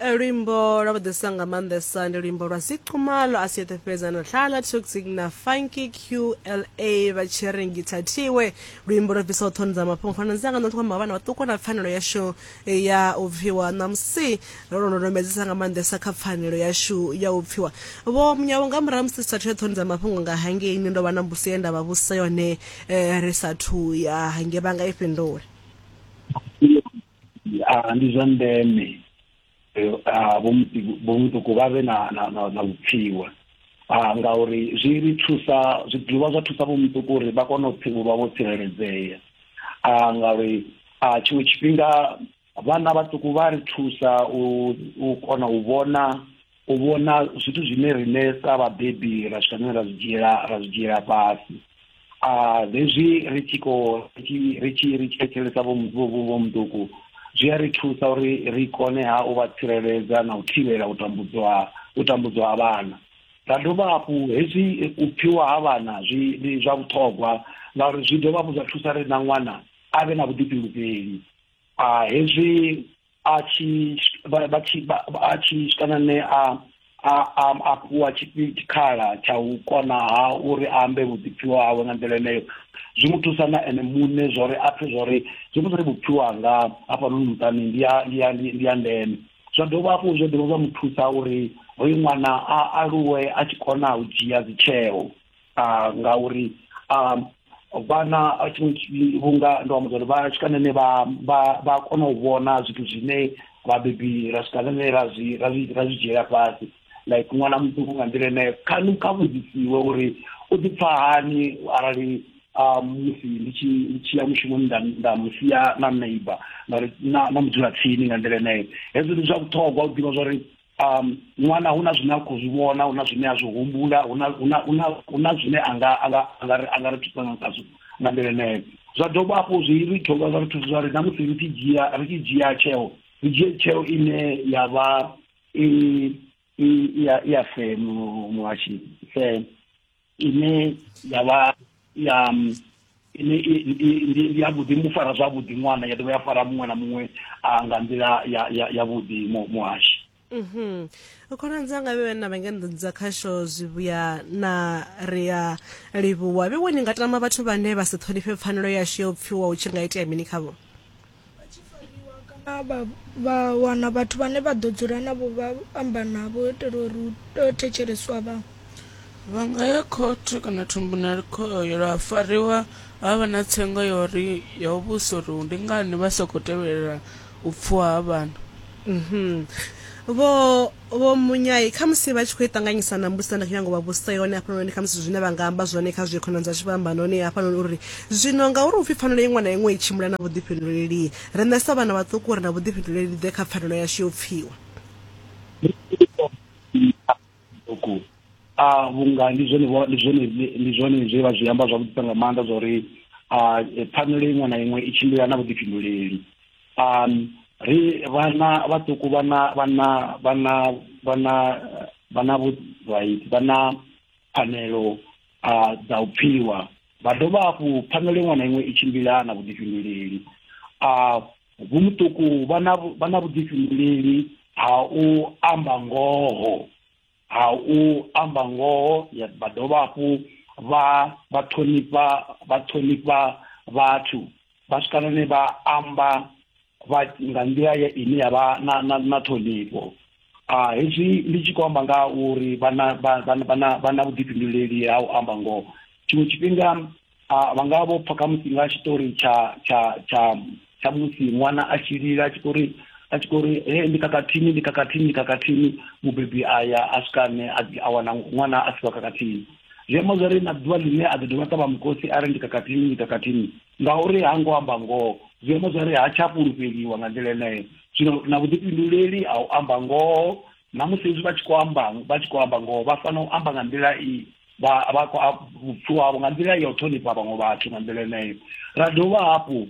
Luimbo lwa vhuḓisa nga maanḓesa ndi luimbo lwa Ziqumalo a si yeṱhe fhedza na Hlala Toxic na Funky QLA vha tshi ri ngithathiwe. Luimbo lwo bvisaho ṱhoni dza mafhungo khonani dzanga nṋe khou amba vhana vhaṱuku na pfanelo yashu ya u pfiwa. Ṋamusi ro londomedzesa nga maanḓesa kha pfanelo yashu ya u pfiwa. Vho Munyavho, nga murahu musi sathu ya ṱhoni dza mafhungo nga hangeini ndo vha na mbudziso ye nda vha vhudzisa yone ri sathu ya hangei, vha nga i fhindula? Ndi zwa ndeme vho muṱuku vha vhe na na na, na vhupfiwa ngauri zwi ri thusa, zwi dovha zwa thusa vho muṱuku uri vha kone u vha vho tsireledzea, ngauri tshiṅwe tshifhinga vhana vhaṱuku vha ri thusa u kona u vhona zwithu zwine riṋe sa vhabebi ra swika hune ra zwi dzhiela fhasi. Hezwi ri tshi khou ri tshi ri tshi thetshelesa vho muṱuku zwi a ri thusa uri ri kone ha u vha tsireledza na u thivhela u tambudzwa ha vhana. Ra dovha hafhu hezwi u pfhiwa ha vhana zwi ndi zwa vhuṱhogwa ngauri zwi dovha hafhu zwa thusa ri na ṅwana a vhe na vhuḓifhinduleli. Hezwi a tshi vha tshi a tshi swika ne a a a fhiwa tshikhala tsha u kona ha uri a ambe vhuḓipfiwa hawe nga nḓila eneyo, zwi mu thusa na ene muṋe zwa uri a pfhe zwa uri zwi uri vhupfiwa hanga hafhanoni muṱani ndi ya ndeme. Zwa dovha hafhu zwa dovha zwa mu thusa uri hoyu ṅwana a aluwe a tshi kona u dzhia dzitsheo, ngauri vhana tshiṅwe vhunga ndo amba uri vha swika nene vha kona u vhona zwithu zwine vhabebi ra swika nene ra zwi ra zwi ra zwi dzhiela fhasi, like ṅwana muṱuku nga nḓila ine kha vhudzisiwe uri u ḓi pfha hani arali musi ndi tshi ya mushumoni nda musia na neighbor ngauri na mudzulatsini nga nḓila eneyo. Hezwo ndi zwa vhuṱhogwa u ḓivha zwa uri ṅwana hu na zwine a khou zwi vhona, hu na zwine a zwi humbula, hu na zwine a nga ri thusa nga khazwo nga nḓila eneyo. Zwa dovha hafhu zwi ri dovha zwa ri thusa zwa uri na musi ri tshi dzhia tsheo, ri dzhie tsheo ine ya vha i ya fair, muhashi, fair ine ya vha ya ine ndi ya vhuḓi, mu fara zwavhuḓi ṅwana, ya dovha ya fara muṅwe na muṅwe nga nḓila ya vhuḓi muhashi. Khonani dzanga vhe na vha nga dza khasho zwivhuya na ri a livhuwa. Vhe ni nga tama vhathu vhane vha si ṱhonifhe pfanelo yashu ya u pfiwa hu tshi nga itea mini khavho? Vha tshi fariwa kana vha wana vhathu vhane vha ḓo dzula navho vha amba navho u itela uri hu tea u thetshelesiwa vhaṅwe. Vha nga ya khothe kana thumbunali khoyo lwa fariwa ha vha na tsengo ya uri ya u vhusa uri ndi ngani vha sa khou tevhelela u pfuwa ha vhana. Vho Munyai, khamusi vha tshi khou i ṱanganyisa na mbudziso nda khou nyanga u vha vhudzisa yone hafhanoni, khamusi zwine vha nga amba zwone kha zwe khonani dzashu vha amba noni hafhanoni uri zwino ngauri upfhi pfanelo iṅwe na iṅwe i tshimbila na vhuḓifhinduleli, riṋe sa vhana vhaṱuku ri na vhuḓifhinduleli ḓe kha pfanelo yashu yo pfiwa? Vhunga ndi zwone ndi zwone ndi zwone zwe vha zwi amba zwavhuḓisa nga maanḓa zwa uri pfanelo iṅwe na iṅwe i tshimbila na vhuḓifhinduleli. Ri vhana vhaṱuku vhana vhana vhana vhana vhana vha na pfanelo dza u pfiwa, vha dovha hafhu pfanelo iṅwe na iṅwe i tshimbila na vhuḓifhinduleli. Vho muṱuku vha na vhuḓifhinduleli ha u amba ngoho, ha u amba ngoho, vha dovha hafhu vha vha ṱhonifha vha ṱhonifha vhathu, vha swika hune vha amba vha nga nḓila ine ya vha na na na ṱhonifho. Hezwi ndi tshi khou amba nga uri vha na vha na vhuḓifhinduleli ha u amba ngoho. Tshiṅwe tshifhinga vha nga vho pfha khamusi nga tshiṱori tsha tsha tsha tsha musi ṅwana a tshi lila a tshi khou ri a tshi khou ri he ndi khakhathini, ndi khakhathini, ndi khakhathini, mubebi a ya a swika ne a wana ṅwana a siho khakhathini. Zwi amba zwa uri na ḓuvha ḽine a ḓo dovha ṱavha mukosi a ri ndi khakhathini, ndi khakhathini, ngauri ha ngo amba ngoho, zwi amba zwa uri ha tsha fhulufheliwa nga nḓila eneyo. Zwino na vhuḓifhinduleli ha u amba ngoho, na musi hezwi vha tshi khou amba vha tshi khou amba ngoho, vha fanela u amba nga nḓila i vha vha vhupfiwa havho nga nḓila ya u ṱhonifha vhaṅwe vhathu nga nḓila eneyo. Ra dovha hafhu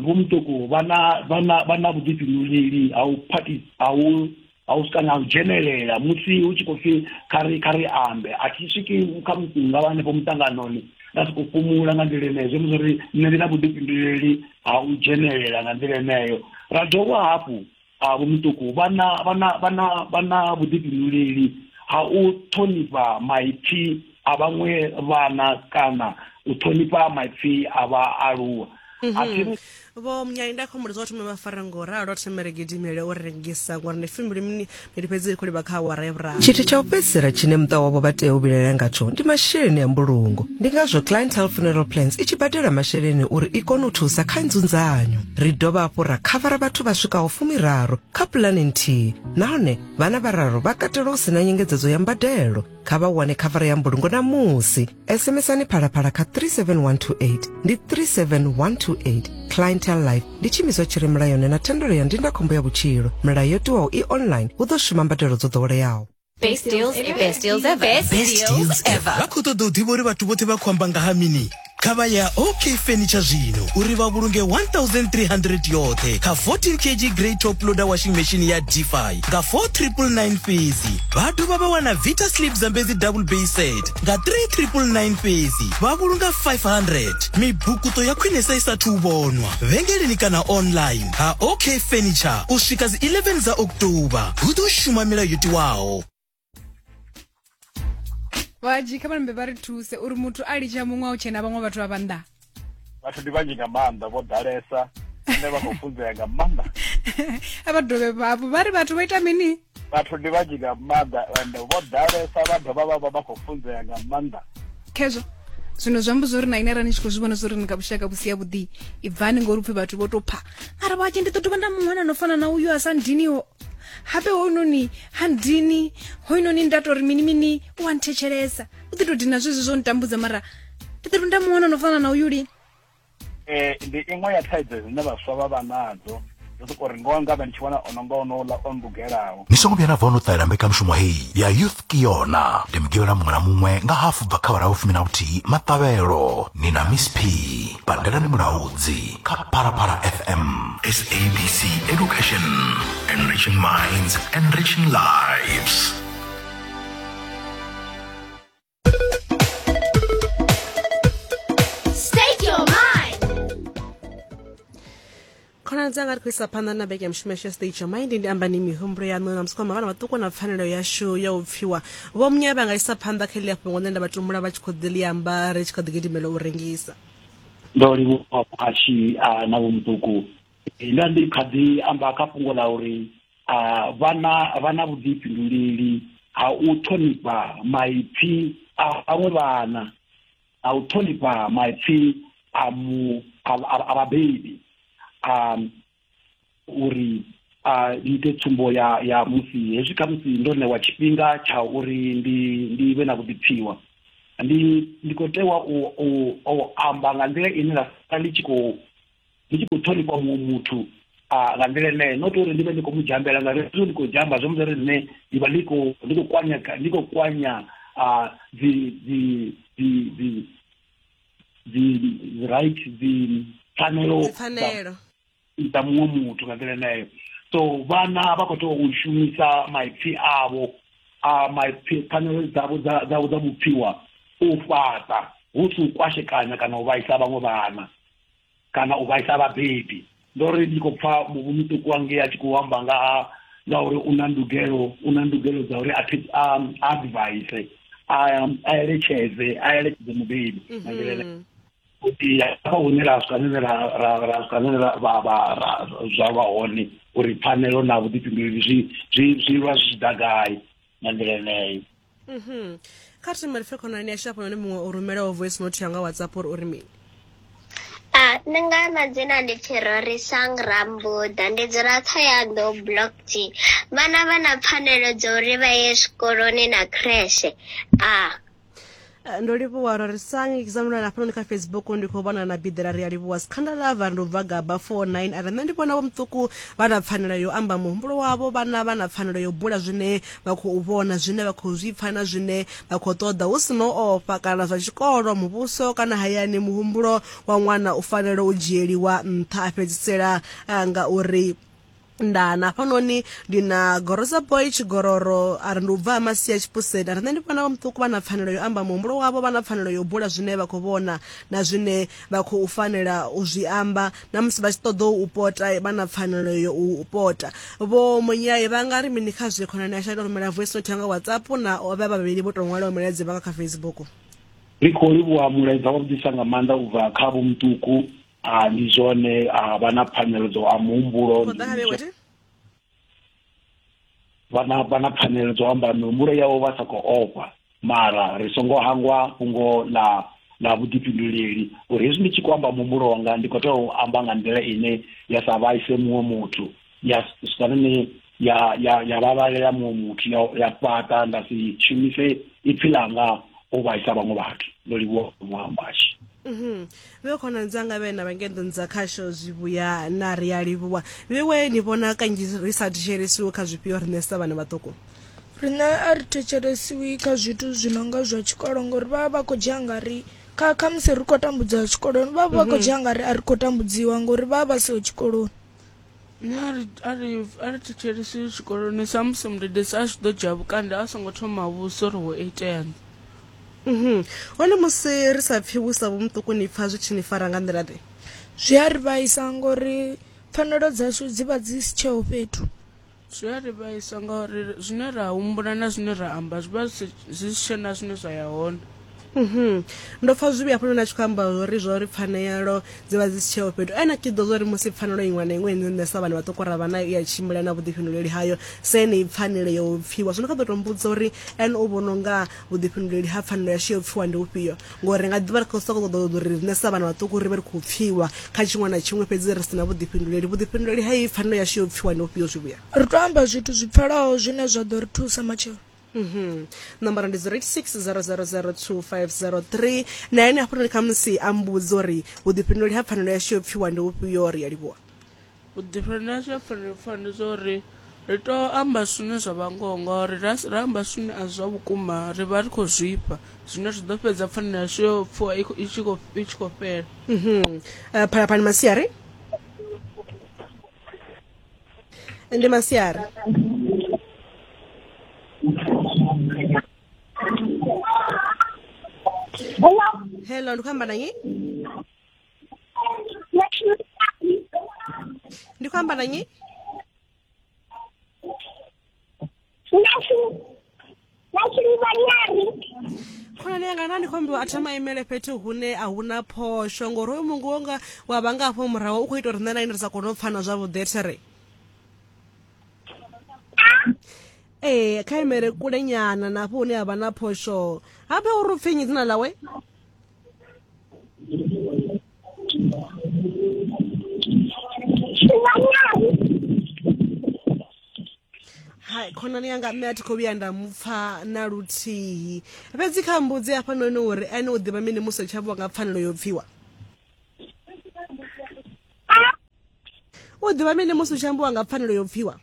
vho muṱuku vha na vha na vha na vhuḓifhinduleli ha u phathi ha u ha u swika na u dzhenelela musi hu tshi khou pfhi kha ri ambe. A thi swiki kha musi nga vha hanefho muṱanganoni nda sokou fhumula nga nḓila eneyo, zwi amba zwori nṋe ndi na vhuḓifhinduleli ha u dzhenelela nga nḓila eneyo. Ra dovha hafhu Vho Muṱuku vha na vha na vha na vha na vhuḓifhinduleli ha u ṱhonifha maipfi a vhaṅwe vhana kana u ṱhonifha maipfi a vhaaluwa. A thi ri Vho Munyai, nda khou humbula zwa thome vha fare ngo ralo thome ri gidimele u rengisa ngori ndi fumbili mini fhedzi ri khou livha kha awara ya vhuraru. Tshithu tsha u fhedzisela tshine muṱa wavho vha tea u vhilaela ngatsho ndi masheleni a mbulungo. Ndi ngazwo Clientele Funeral Plans i tshi badela masheleni uri i kone u thusa kha nzunzanyo. Ri dovha hafhu ra khavara vhathu vha swikaho fumiraru kha pulane nthihi nahone vhana vhararu vha katelwa hu si na nyengedzedzo ya mbadelo. Kha vha wane khavara ya mbulungo ṋamusi. SMSani Phalaphala kha 37128 ndi 37128. Clientele Life ndi tshiimiswa tshi re mulayoni na thendelo ya ndindakhombo ya vhutshilo. Milayo yo tiwaho i online, hu ḓo shuma mbadelo dzo ḓoweleaho. Best deals ever. Best deals ever. Best, Best deals ever. Vha khou ṱoḓa u ḓivha uri vhathu vhoṱhe vha khou amba nga ha mini? Kha vha ya OK Furniture zwino uri vha vhulunge 1300 yoṱhe kha 14 kg grey top loader washing machine ya Defy nga 4999 fhedzi. Vha dovha vha wana Vita Sleep Zambezi double bay set nga 3999 fhedzi, vha vhulunga 500. Mibukuṱo ya khwinesa i sathu u vhonwa vhengeleni kana online ha OK Furniture u swika dzi 11 dza October. Hu ḓo shuma milayo yo tiwaho. Vhadzhi kha vha nambe vha ri thuse uri muthu a litsha muṅwe a u tshena vhaṅwe vhathu vha vha nnḓa. Vhathu ndi vhanzhi nga maanḓa vho ḓalesa ende vha khou funzea nga maanḓa. A vha dovhe hafhu vha ri vhathu vho ita mini? Vhathu ndi vhanzhi nga maanḓa ende vho ḓalesa vha dovha vha vha vha khou funzea nga maanḓa. Khezwo zwino zwi amba zwori na ine arali ni tshi khou zwi vhona zwori ni nga vhushaka vhu si havhuḓi ibvani ngori upfhi vhathu vho tou pha mara vhatshi ndi ḓo dovha nda muṅwana no fana na uyu a sa ndiniho habe hoyunoni ha ndini hoyunoni nda tori mini mini u a nthetshelesa u ḓi tou dina zwezwi zwo ntambudza mara ndi ḓo nda muwana no fana na uyu lini. Ndi iṅwe ya thaidzo dzine vhaswa vha vha nadzo ndo soko ri ngoho ngavhe ndi tshi wana ono nga onouḽa o ndugelaho. Ni songo vhuya na bva no ṱalela mbekanyamushumo heyi ya Youth Ke Yona. Ndi Mugivhela muṅwe na muṅwe nga hafu bva kha awara ya vhufumi na vhuthihi maṱavhelo. Ni na Miss P. Pandelani Mulaudzi kha Phalaphala FM. SABC Education, enriching minds, enriching lives. State your mind. Khonani dzanga, ri khou isa phanḓa na beke ya mushumo yashu ya State Your Mind. Ndi amba ni mihumbulo yaṋu na musi vhana vhaṱuku na pfanelo yashu ya u pfiwa. Vho Munya vha nga isa phanḓa kha ḽia fhungo ṋe nda vha tumbula vha tshi khou ḓi ḽi amba ri tshi kha ḓi gidimela u rengisa. Ndo livhuwa muhashi na vho muṱuku. Nda ndi kha ḓi amba kha fhungo ḽa uri vhana vha na vhuḓifhinduleli ha u ṱhonifha maipfi a vhaṅwe vhana, a u ṱhonifha maipfi a mu a vhabebi, a uri a ite tsumbo ya ya musi hezwi khamusi ndo ṋewa tshifhinga tsha uri ndi ndi vhe na vhuḓipfiwa, ndi ndi khou tewa u u amba nga nḓila ine nda sala ndi tshi khou ndi tshi khou ṱhonifha muṅwe muthu nga nḓila ine not uri ndi vhe ndi khou mu dzhambela, ngauri hezwi ndi khou dzhamba zwi amba uri nṋe ndi vha ndi khou ndi khou kwanya ndi khou kwanya dzi dzi dzi dzi dzi right dzi pfanelo dza muṅwe muthu nga nḓila ineyo. So vhana vha khou tea u shumisa maipfi avho a maipfi pfanelo dzavho dza dzavho dza vhupfiwa u fhaṱa, hu si u kwashekanya kana u vhaisa vhaṅwe vhana kana u vhaisa vhabebi. Ndo ri ndi khou pfa muvhu muṱuku wangei a tshi khou amba nga ha nga uri u na ndugelo u na ndugelo dza uri a a advise a a eletshedze a eletshedze mubebi nga nḓila ine kuti hafha hune ra swika hune ra ra ra swika hune ra vha vha ra zwa vha hone uri pfanelo na vhuḓifhinduleli zwi zwi zwi lwa zwi tshi ḓa gai nga nḓila yeneyo. Kha ri thome ri pfe khonani yashu hafhanoni muṅwe o rumelaho voice note yanga WhatsApp uri uri mini. A, nṋe nga madzina ndi pfi Rorisang Rambuda, ndi dzula Thohoyandou Block G. Vhana vha na pfanelo dza uri vha ye zwikoloni na creche. A. Ndo livhuwa Rorisang. Example hafhanoni kha Facebook ndi khou vhona na Biḓela, ri a livhuwa. Skhanda Lava ndi u bva Gaba 49 a ri nṋe ndi vhona vho muṱuku vha na pfanelo yo amba muhumbulo wavho, vhana vha na pfanelo yo bula zwine vha khou vhona, zwine vha khou zwi pfa na zwine vha khou ṱoḓa hu si no ofha kana zwa tshikolo, muvhuso kana hayani. Muhumbulo wa ṅwana u fanela u dzhieliwa nṱha, a fhedzisela nga uri. Nda na hafhanoni ndi na Gorosa Boy Tshigororo a ri ndi u bva ha Masia Tshipuseni a ri nṋe ndi vhona vha muṱuku vha na pfanelo yo amba muhumbulo wavho vha na pfanelo yo bula zwine vha khou vhona na zwine vha khou fanela u zwi amba na musi vha tshi ṱoḓa u pota vha na pfanelo yo u pota. Vho Munyai vha nga ri mini kha zwe khonani yashu a tou rumela voice note nga WhatsApp na vha vhavhili vho tou ṅwalaho milaedza vha nga kha Facebook. Ri khou livhuwa mulaedza wavhuḓisa nga maanḓa u bva kha Vho Muṱuku a ndi zwone a vha na pfanelo dzo a muhumbulo vha na pfanelo dzo amba mihumbulo yavho vha sa khou ofha mara ri songo hangwa fhungo ḽa ḽa vhuḓifhinduleli uri hezwi ndi tshi khou amba muhumbulo wanga ndi khou tea u amba nga nḓila ine ya sa vhaise muṅwe muthu ya swanene ya ya ya vhavhalela muṅwe muthu ya ya fhaṱa nda si shumise ipfi ḽanga u vhaisa vhaṅwe vhathu ndo livhuwa muhambashe Mhm. Vhe khonani dzanga vhe na vhangeḓo dza khasho zwivhuya na ri a livhuwa. Vhewe ni vhona kanzhi ri sa thetshelesiwi kha zwifhio riṋe sa vhana vhaṱuku? Riṋe a ri thetshelesiwi kha zwithu zwi no nga zwa tshikolo ngori vha vha vha khou dzhia nga ri kha khamusi ri khou tambudziwa tshikoloni vha vha vha khou dzhia nga ri a ri khou tambudziwa ngori vha vha vha siho tshikoloni. Nṋe a ri a ri a ri thetshelesi tshikoloni sa musi mudededzi a tshi ḓo dzhia vhukando a songo thoma a vhudzisa uri ho iteani. Mhm. Hone musi ri sa pfi vhusa vho muṱuku ni pfa zwi tshi ni fara nga nḓila ḓe? Zwi a ri vhaisa ngori pfanelo dzashu dzi vha dzi si tsheho fhethu. Zwi a ri vhaisa ngauri zwine ra humbula na zwine ra amba zwi vha zwi si tshena zwine zwa ya hone. Mhm. Ndo pfa zwivhi hafhanoni a tshi khou amba uri zwa uri pfanelo dzi vha dzi si tsheho fhethu. Ene a tshi ḓo zwa uri musi pfanelo iṅwe na iṅwe ine nṋe sa vhana vhaṱuku ra vha nayo i a tshimbila na vhuḓifhinduleli hayo sa yeneyi pfanelo ya u pfiwa. Zwino kha ḓo tou mbudza uri ene u vhona u nga vhuḓifhinduleli ha pfanelo yashu ya u pfiwa ndi ufhio. Ngori ri nga ḓi vha ri khou sokou ṱoḓa uri riṋe sa vhana vhaṱuku ri vhe ri khou pfiwa kha tshiṅwe na tshiṅwe fhedzi ri si na vhuḓifhinduleli. Vhuḓifhinduleli ha iyi pfanelo yashu ya u pfiwa ndi ufhio zwivhuya? Ri tou amba zwithu zwi pfalaho zwine zwa ḓo ri thusa matshelo. Mhm. Nomboro ndi 086 000 2503 na ene hafhanoni khamusi a mbudza uri vhuḓifhinduleli ha pfanelo yashu yo pfiwa ndi ufhio ri a livhuwa. Vhuḓifhinduleli hashu ha pfanelo pfana ndi zwa uri ri tea u amba zwine zwa vha ngoho ngauri ra ra amba zwine a si zwa vhukuma ri vha ri khou zwifha zwine zwi ḓo fhedza pfanelo yashu yo pfhiwa i tshi khou i tshi khou fhela. Mhm. Uh, phalaphala masiari ndi masiari hello ndi khou amba na nnyi ndi khou amba na nnyi Khonani yanga na ndi khou ambiwa a thoma imele fhethu hune a huna phosho ngori hoyu mungu wonga wa vha nga hafho murahu u khou ita uri nṋe na ine ri sa kone u pfana zwavhuḓi there ee kha imele kule nyana na hafho hune ha vha na phosho habe uri u pfi nnyi dzina ḽawe Hai khonani yanga nṋe a thi khou vhuya nda mupfa na luthihi fhedzi kha mbudzi hafhanoni uri ene u ḓivha mini musi tsha vhuwa nga pfanelo yo pfiwa u ḓivha mini musi u tshi ambiwa nga pfanelo yo pfiwa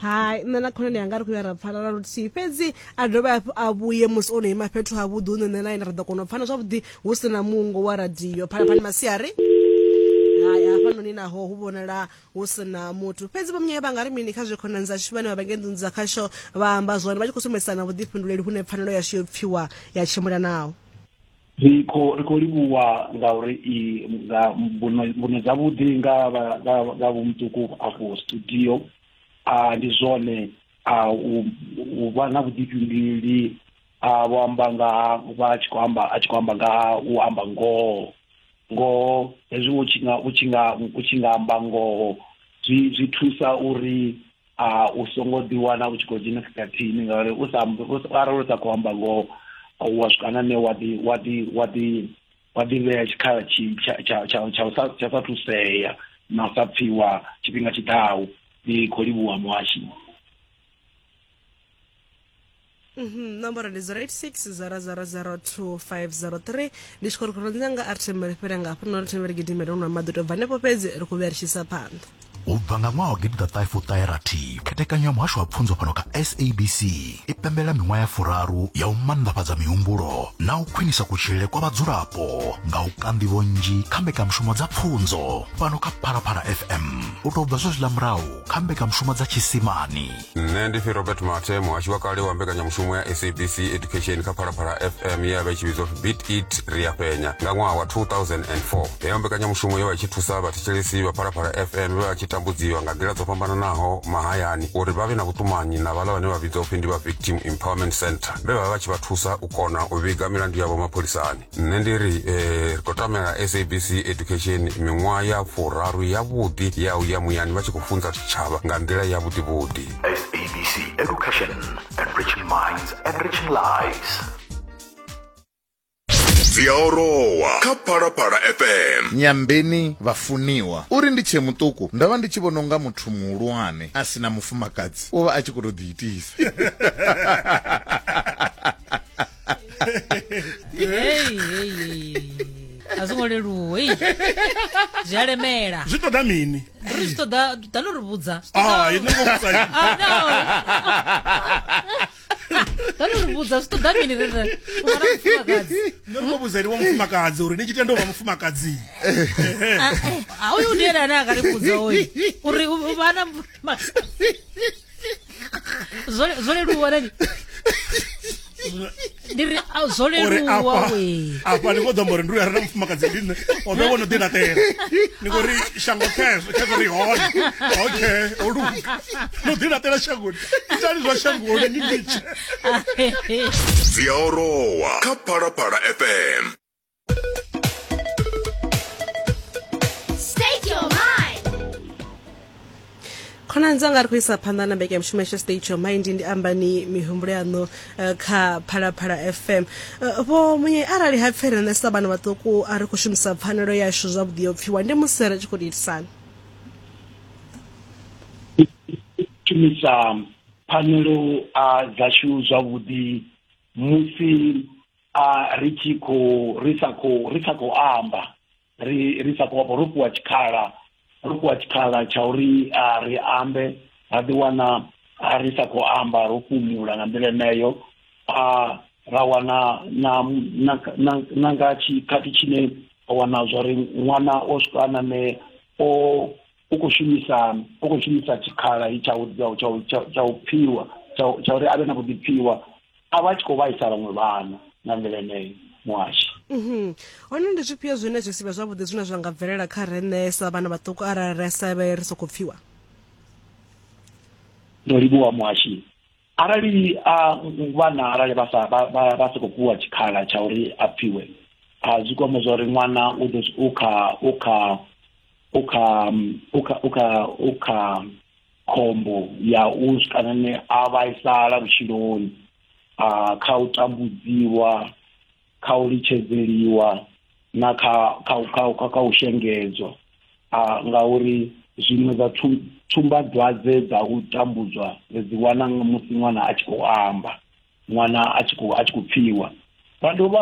Hai nṋe na khonani yanga ri khou ya ra pfana na luthihi fhedzi a dovhe hafhu a vhuye musi o no ima fhethu havhuḓi hune nṋe na ene ra ḓo kona u pfana zwavhuḓi hu si na mungo wa radio phalaphala masiari hai hafhanoni naho hu vhonala hu si na muthu fhedzi vho munyae vha nga ri mini kha zwe khonani dzashu vhane vha vha ngei nḓuni dza khasho vha amba zwone vha tshi khou sumbedzisana vhuḓifhinduleli hune pfanelo yashu yo pfiwa ya tshimbila naho Ri khou ri khou livhuwa ngauri i nga mbuno mbuno dzavhuḓi nga nga vho muṱuku afho studio a ndi zwone a u vha na vhuḓifhinduleli a vho amba nga vha tshi khou amba a tshi khou amba nga u amba ngoho ngoho hezwi u tshi nga u tshi nga u tshi nga amba ngoho zwi zwi thusa uri a u songo ḓiwana u tshi khou dzhena khakhathini ngauri u sa arali u sa khou amba ngoho wa swika na nṋe wa ḓi wa ḓi wa ḓi wa ḓi vhea tshikhala tshi tsha tsha tsha tsha u sa tsha sa thusea na u sa pfiwa tshifhinga tshiḓaho ndi khou livhuwa muhashi. Mhm, nomboro ndi 086 0002503 ndi tshi khou ri khonani dzanga a ri thembele fhele nga hafha no ri thembele gidimele u nwa maḓi u tou bva hanefho fhedzi ri khou vhuya ri tshi isa phanḓa. U bva nga ṅwaha wa 1996, khethekanyo ya muhasho wa pfunzo fhano kha SABC i pembelela miṅwaha ya furaru ya u maanḓafhadza mihumbulo na u khwinisa kutshilele kwa vhadzulapo nga u ka nḓivho nnzhi kha mbekanyamushumo dza pfunzo fhano kha Phalaphala FM u tou bva zwezwiḽa murahu kha mbekanyamushumo dza tshisimani. Nṋe ndi pfi Robert Mathe, muhashi wa kale wa mbekanyamushumo ya SABC Education kha Phalaphala FM ye ya vha i tshi vhidzwa upfi Beat It Ri a Fhenya nga ṅwaha wa 2004. Heyo mbekanyamushumo yo vha i tshi thusa vhathetshelesi vha Phalaphala FM vhe vha tshi tambudziwa nga nḓila dzo fhambananaho mahayani uri vha vhe na vhuṱumanyi na vhaḽa vhane vha vhidzwa upfi ndi vha Victim Empowerment Centre vhe vha vha vha tshi vha thusa u kona u vhiga milandu yavho mapholisani. Nṋe ndi ri ri khou tamela SABC Education miṅwaha ya furaru yavhuḓi ya u ya muyani vha tshi khou funza tshitshavha nga nḓila yavhuḓi vhuḓi. SABC Education, enriching minds, enriching lives. Dzi a orowa kha Phalaphala FM. Nyambeni vhafuniwa uri ndi tshee muṱuku ndo vha ndi tshi vhona unga muthu muhulwane a si na mufumakadzi u vha a tshi khou tou ḓiitisa. Hey, hey, hey. A zwo ngo leluwa hey. Zwi a lemela. Zwi ṱoḓa mini? Ri zwi ṱoḓa ḓa no ri vhudza. Zwi Ah, ine ngo vhudza. Ah, no. Ḓa no ri vhudza zwi ṱoḓa mini ri ri u vha na mufumakadzi. Nṋe ri khou vhudza uri wa mufumakadzi uri ni tshi tenda u vha mufumakadzi. Ah, uyu ndi ene ane a nga ri vhudza hoyu uri u vha na mufumakadzi. Zwo zwo leluwa nani? Ndi ri ah, zwo Uri leluwa afha we. afha ni khou ḓo amba uri ndi uyu a re na mufumakadzi ndi nṋe o vhe wo no ḓi laṱela. Ni khou ri shango khezwo khezwo ri hone. Okay, o luga. No ḓi laṱela shangoni. Itani zwa shangoni ni litshe. Dzi a orowa kha Phalaphala FM. State your mind. Khonani dzanga ri khou isa phanḓa na mbekanyamushumo yashu State Your Mind ndi ambani mihumbulo yaṋu eh, kha Phalaphala FM. Eh, Vho Munye arali ha pfi riṋe sa vhana vhaṱuku a ri khou shumisa pfanelo yashu zwavhuḓi yo pfiwa ndi musi ri tshi khou itisani. Shumisa pfanelo ah, dzashu zwavhuḓi musi a ri tshi khou ri sa khou ri sa khou amba ri ri sa khou amba ro fhiwa tshikhala ro fhiwa tshikhala tsha uri a ri ambe ra ḓi wana a ri sa khou amba ro fhumula nga nḓila yeneyo a ra wana na na na, na nga tshikhathi tshine wa wana zwa uri ṅwana o swika nane o u khou shumisa u khou shumisa tshikhala tsha u tsha u tsha u pfiwa tsha uri avhe na vhuḓipfiwa a vha tshi khou vhaisa vhaṅwe vhana nga nḓila yeneyo muhashi. Mhm. Hone ndi zwifhio zwine zwi si vhe zwavhuḓi zwine zwa nga bvelela kha riṋe sa vhana vhaṱuku arali ra sa vhe ri sokou pfiwa? Ndo livhuwa muhashi. Arali a vhana arali vha sa vha vha sokou fhiwa tshikhala tsha uri a pfiwe a zwi kwama zwa uri ṅwana u ḓo u kha u kha u kha u kha u kha u kha khombo ya u swika a vhaisala vhutshiloni a kha u tambudziwa kha u litshedzeliwa na kha kha kha kha, kha u shengedzwa a ngauri zwiṅwe zwa tsumbadwadze dza u tambudzwa ri dzi wana musi ṅwana a tshi khou amba ṅwana a tshi khou a tshi khou pfiwa ra dovha.